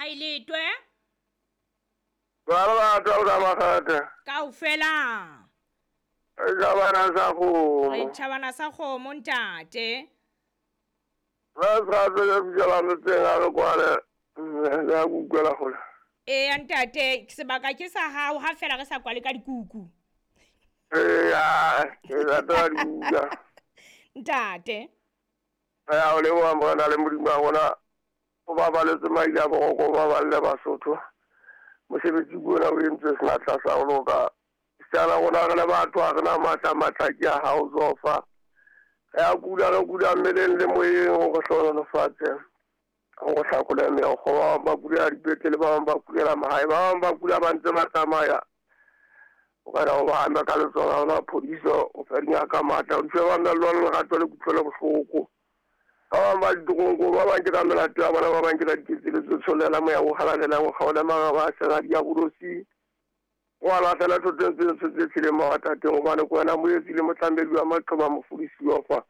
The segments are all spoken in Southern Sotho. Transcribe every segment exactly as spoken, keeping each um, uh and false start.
Kae letwe? Ba ba tla ka makgata. Kaofela. Tjhabana sa kgomo. Re tjhabana sa kgomo ntate. Ra sa tsela bjala motseng a re kwale. Ya kukwela gole. Ee ntate, sebaka ke sa hao ha fela re sa kwale ka dikuku. Ee, ke rata dikuku. Ntate. Ya o leboha Morena le Modimo wa rona. O babaletse maile a boroko, o baballe Basotho. Mosebetsi ke ona o entswe senatla sa ho loka. Sala rona re le batho ha re na matla, matla ke a hao Zofa. Re a kula, re kula mmeleng le moyeng, o re hlohonolofatse. O re hlakole meokgo. Ba bang ba kulela dipetlele, ba bang ba kulela mahae, ba bang ba kula ba ntse ba tsamaya. O ka o ba ame ka letsoho la rona phodiso, o fe dingaka matla, o di fe mamello le lerato le kutlwelo bohloko. Ba bang ba ditoronkong, ba bang ke ka melato ya bona, ba bang ke ka diketseletso. Tshollela moya o halalelang, o kgaole maraba a sera diabolosi. O a lahlela thoteng tse ntsho tse tsheleng mawatateng, hobane ke wena moetsi le motlamedi wa maqeba, mofodisi wa fa.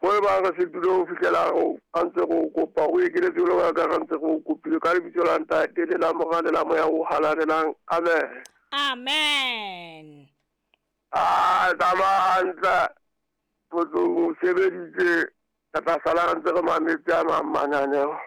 Mo e bang re setule ho fihlela a ntse re o kopa, o ekeletse jwalo ka re ntse re o kopile, ka lebitso la Ntate le la Mora le la Moya o halalelang. Amen. Amen. Ah, tsamaya hantle. Motlong o sebeditse. Re tla sala re ntse re mametse a mang mananeo.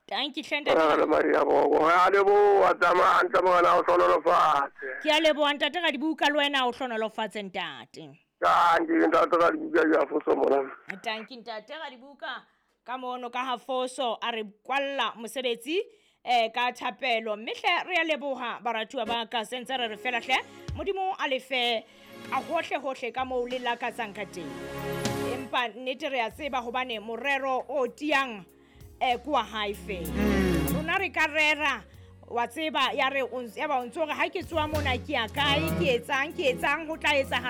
Tanki hle ntate. Re le Maria Boko. Re a leboha, tsamaya hantle Morena o hlohonolofatse. Ke a leboha ntate Radibuka, le wena o hlohonolofatse ntate. Tanki ntate Radibuka ya foso mona. Tanki ntate Radibuka ka mono ka ha foso a re kwalla mosebetsi eh ka thapelo. Mme hle re a leboha baratuwa ba ka, sentse re re fela hle Modimo a lefe a hohle hohle ka moo le lakatsang ka teng. Empa nnete re a tseba hobane morero o tiang eh kwa hae fela. Rona re ka rera wa tseba ya re ya ba o ntso re ha ke tswa mona ke ya kae, ke etsang ke etsang ho tla etsahala.